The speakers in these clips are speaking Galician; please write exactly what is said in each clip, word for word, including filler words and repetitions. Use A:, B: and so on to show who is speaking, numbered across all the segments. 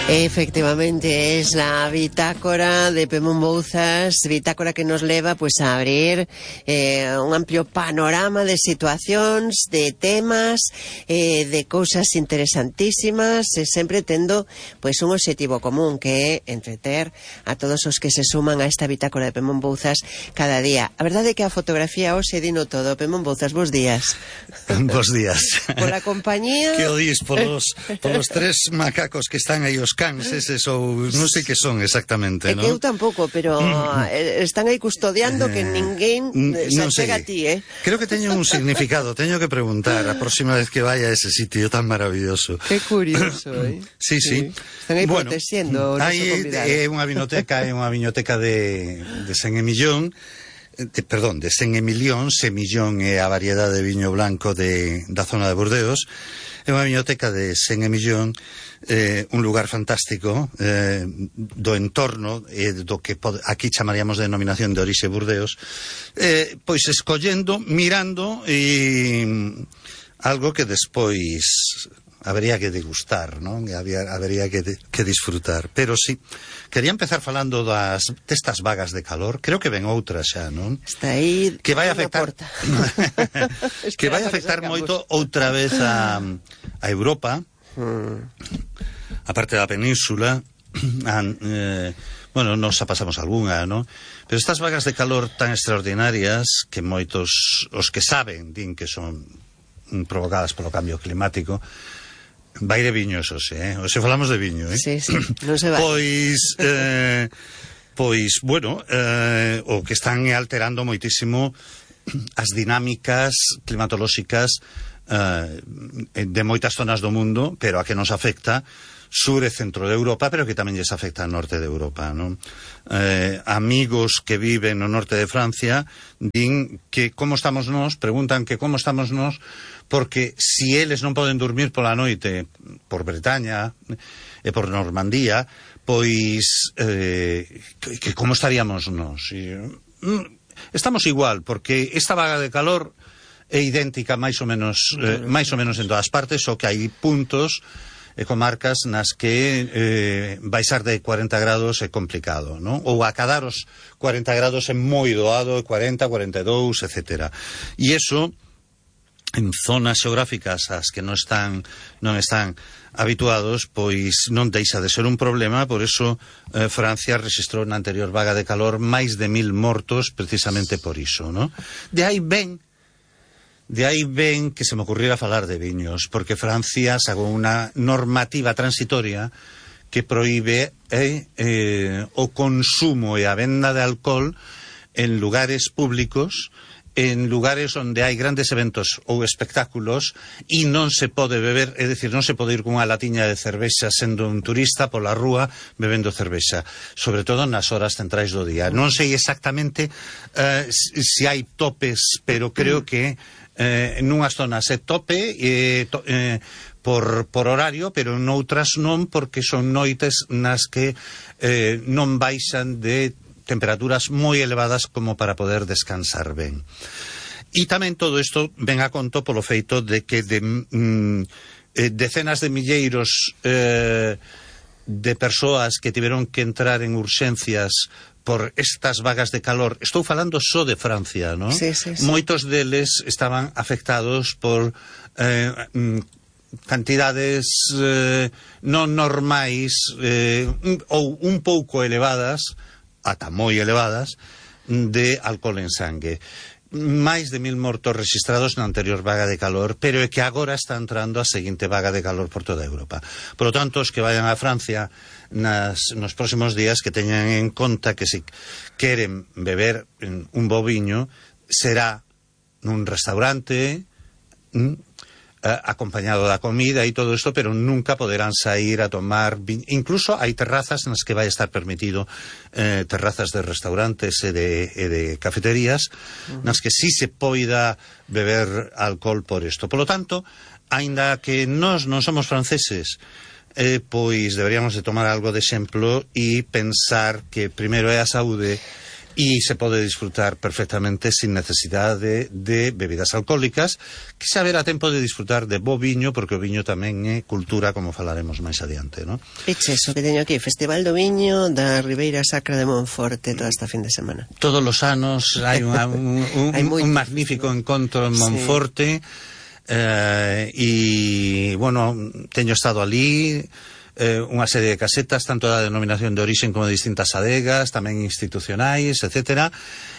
A: Efectivamente, es la bitácora de Pemón Bouzas, bitácora que nos leva pues a abrir eh, un amplio panorama de situacións, de temas, eh, de cousas interesantísimas, e sempre tendo pues un objetivo común, que é entreter a todos os que se suman a esta bitácora de Pemón Bouzas cada día. A verdade é que a fotografía hoxe dino todo. Pemón Bouzas, bos días.
B: Bos días.
A: Pola compañía...
B: Que o dís polos, polos tres macacos que están aí os cans, eses ou non sei que son exactamente,
A: non?
B: É
A: que eu tampouco, pero están aí custodiando que ninguén se achega a ti, eh?
B: Creo que teño un significado, teño que preguntar a próxima vez que vaya a ese sitio tan maravilloso.
A: Que curioso, eh?
B: Sí, sí.
A: Están aí bueno, protexendo o noso convidado.
B: É unha vinoteca, é unha vinoteca de, de Sen Emillón, de, perdón, de Sen Emilión. Semillón é a variedade de viño blanco de, da zona de Burdeos. É unha biblioteca de Sen Emillón, eh, un lugar fantástico eh, do entorno, eh, do que pod, aquí chamaríamos de denominación de orixe Burdeos, eh, pois escollendo, mirando e algo que despois habería que degustar, non? Había, habería que, de, que disfrutar. Pero sí, quería empezar falando das destas vagas de calor. Creo que ven outras xa, non?
A: Está aí
B: que vai afectar que vai afectar moito outra vez a, a Europa, mm. a parte da península. A, eh, bueno, nos a pasamos algunha, non? Pero estas vagas de calor tan extraordinarias que moitos, os que saben, din que son provocadas polo cambio climático. Vai de viño, eso sí, eh? Hoxe falamos de viño, eh?
A: Sí, sí, non se vai.
B: Pois, eh, pois, bueno, eh, o que están alterando moitísimo as dinámicas climatolóxicas eh, de moitas zonas do mundo, pero a que nos afecta sur e centro de Europa, pero que tamén lles afecta ao norte de Europa, non? Eh, amigos que viven no norte de Francia din que como estamos nós, preguntan que como estamos nós, porque si eles non poden dormir pola noite por Bretaña e por Normandía, pois eh, que, que como estaríamos nós? E, estamos igual, porque esta vaga de calor é idéntica máis ou menos eh, máis ou menos en todas partes, só que hai puntos e comarcas nas que eh, baixar de cuarenta grados é complicado, non? Ou acadar os cuarenta grados é moi doado, cuarenta, cuarenta e dous, etcétera. E iso en zonas xeográficas ás que non están non están habituados, pois non deixa de ser un problema. Por eso eh, Francia registrou na anterior vaga de calor máis de mil mortos precisamente por iso, non? De aí ven De aí ven que se me ocurriera falar de viños, porque Francia sacou unha normativa transitoria que proíbe eh, eh, o consumo e a venda de alcohol en lugares públicos, en lugares onde hai grandes eventos ou espectáculos, e non se pode beber, é dicir, non se pode ir cunha latiña de cervexa sendo un turista pola rúa bebendo cervexa, sobre todo nas horas centrais do día. Non sei exactamente eh, se hai topes, pero creo que Eh, nunhas zonas é tope eh, to, eh, por, por horario, pero noutras non, porque son noites nas que eh, non baixan de temperaturas moi elevadas como para poder descansar ben. E tamén todo isto ven a conto polo feito de que de, mm, eh, decenas de milleiros eh, de persoas que tiveron que entrar en urxencias por estas vagas de calor, estou falando só de Francia, non?
A: Sí, sí, sí.
B: Moitos deles estaban afectados por eh, cantidades eh, non normais eh, ou un pouco elevadas, ata moi elevadas, de alcohol en sangue. Máis de mil mortos registrados na anterior vaga de calor, pero é que agora está entrando a seguinte vaga de calor por toda Europa. Por lo tanto, os que vayan a Francia nas, nos próximos días, que teñan en conta que se queren beber un bo viño, será nun restaurante, mm, acompañado da comida e todo isto, pero nunca poderán sair a tomar viño. Incluso hai terrazas nas que vai estar permitido, eh, terrazas de restaurantes e de, e de cafeterías, uh-huh. nas que sí se poida beber alcohol por isto. Por lo tanto, aínda que nós non somos franceses, eh, pois deberíamos de tomar algo de exemplo e pensar que primeiro é a saúde y se pode disfrutar perfectamente sin necesidade de, de bebidas alcohólicas, que se haberá tempo de disfrutar de bo viño, porque o viño tamén é cultura, como falaremos máis adiante, non?
A: Eche eso que teño aquí, Festival do Viño da Ribeira Sacra de Monforte toda esta fin de semana.
B: Todos os anos hai unha, un, un, hai un magnífico encontro en Monforte, sí. eh, e, bueno, teño estado ali, eh, unha serie de casetas, tanto da denominación de orixen como de distintas adegas, tamén institucionais, etcétera,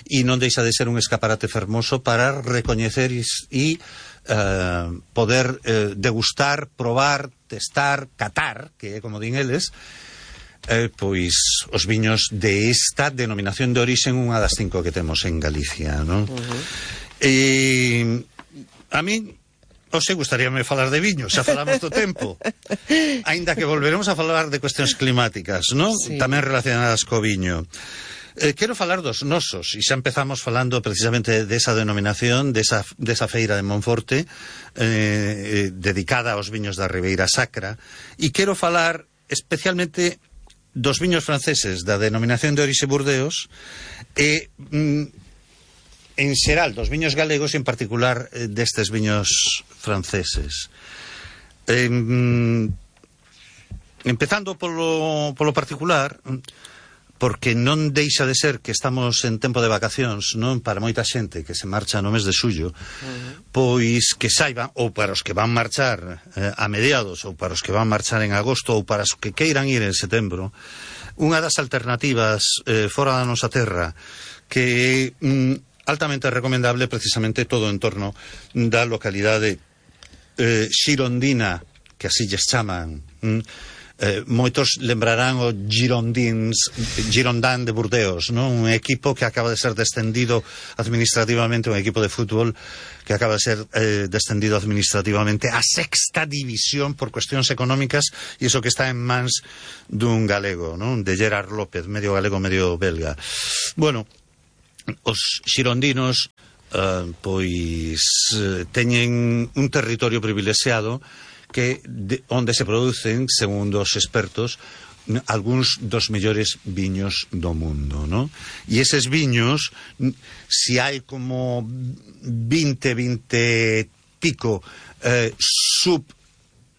B: e non deixa de ser un escaparate fermoso para recoñecer e, e eh, poder eh, degustar, probar, testar, catar, que é como din eles, eh, pois os viños de esta denominación de orixen, unha das cinco que temos en Galicia, non? Uh-huh. E a min Ose, gustaríame falar de viño, xa falamos do tempo. Aínda que volveremos a falar de cuestións climáticas, non? Sí. Tamén relacionadas co viño. Eh, quero falar dos nosos, e xa empezamos falando precisamente desa denominación, desa, desa feira de Monforte, eh, dedicada aos viños da Ribeira Sacra, e quero falar especialmente dos viños franceses da denominación de orixe Burdeos, e... Mm, en xeral, dos viños galegos e en particular eh, destes viños franceses. Eh, empezando polo, polo particular, porque non deixa de ser que estamos en tempo de vacacións, non, para moita xente que se marcha no mes de xullo, uh-huh. Pois que saiban, ou para os que van marchar eh, a mediados, ou para os que van marchar en agosto, ou para os que queiran ir en setembro, unha das alternativas eh, fora da nosa terra que mm, altamente recomendable, precisamente todo en torno da localidade eh, xirondina, que así lles chaman. Mm, eh, moitos lembrarán o Girondins, Girondin de Burdeos, non? Un equipo que acaba de ser descendido administrativamente, un equipo de fútbol que acaba de ser eh, descendido administrativamente a sexta división por cuestións económicas, e iso que está en mans dun galego, non? De Gerard López, medio galego, medio belga. Bueno, os xirondinos uh, pois uh, teñen un territorio privilexiado que de, onde se producen, segundo os expertos, algúns dos mellores viños do mundo, ¿no? E eses viños, si hai como vinte, vinte pico eh, sub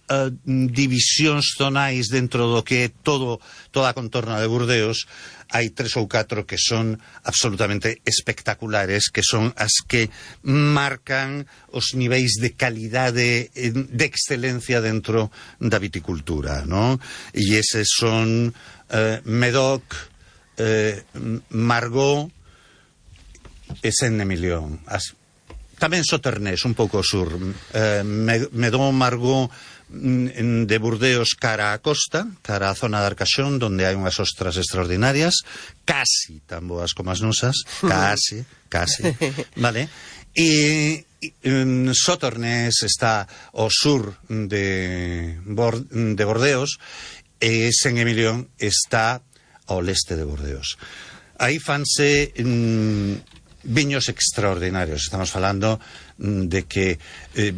B: Uh, divisións zonais dentro do que é todo, toda a contorna de Burdeos, hai tres ou catro que son absolutamente espectaculares, que son as que marcan os niveis de calidade, de excelencia dentro da viticultura, ¿no? E eses son uh, Medoc, uh, Margaux e Saint-Emilion. As, tamén Sauternes, un pouco sur, uh, Medoc, Margaux de Burdeos cara a costa, cara a zona de Arcachón, donde hai unhas ostras extraordinarias, casi tan boas como as nosas, casi, casi, vale? E um, Sauternes está ao sur de, Bord de Bordeos, e Saint-Emilion está ao leste de Bordeos. Aí fanse um, viños extraordinarios. Estamos falando um, de que eh,